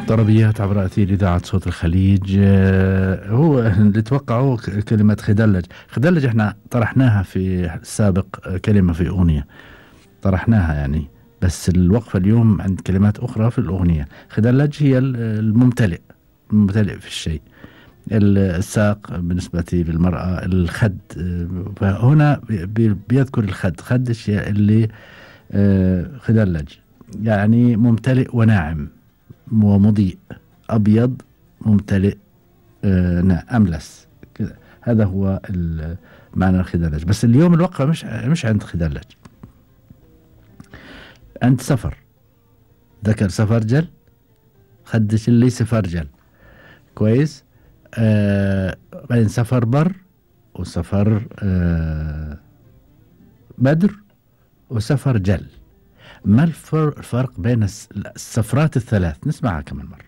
طربيات عبر أثير إذاعة صوت الخليج. هو اللي توقعوا كلمة خدلج. خدلج احنا طرحناها في السابق، كلمة في أغنية طرحناها يعني، بس الوقفة اليوم عند كلمات أخرى في الأغنية. خدلج هي الممتلئ في الشيء، الساق بالنسبة للمرأة، الخد. فهنا بيذكر الخد، خد الشيء اللي خدلج يعني ممتلئ وناعم ومضيء، أبيض ممتلئ أملس كذا. هذا هو معنى الخدلج. بس اليوم الوقفة مش عند خدلج، عند سفر. ذكر سفرجل، خدش اللي سفرجل كويس. بعدين سفر بر، وسفر بدر، وسفر جل. ما الفرق بين السفرات الثلاث؟ نسمعها كمان مرة.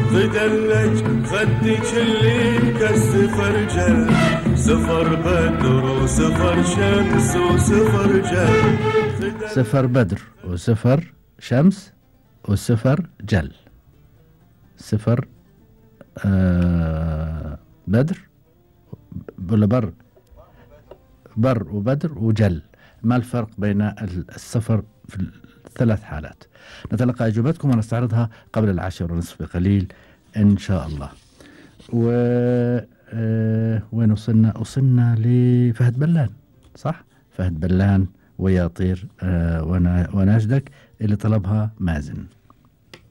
خدلج خدك اللي كالسفر جل، سفر بدر وسفر شمس وسفر جل. سفر بدر وسفر شمس وسفر جل. سفر بدر ولا بر وبدر وجل. ما الفرق بين السفر في الثلاث حالات؟ نتلقى أجوبتكم ونستعرضها قبل 10:30 بقليل إن شاء الله. وين وصلنا لفهد بلان، صح؟ فهد بلان ويا طير وناشدك اللي طلبها مازن.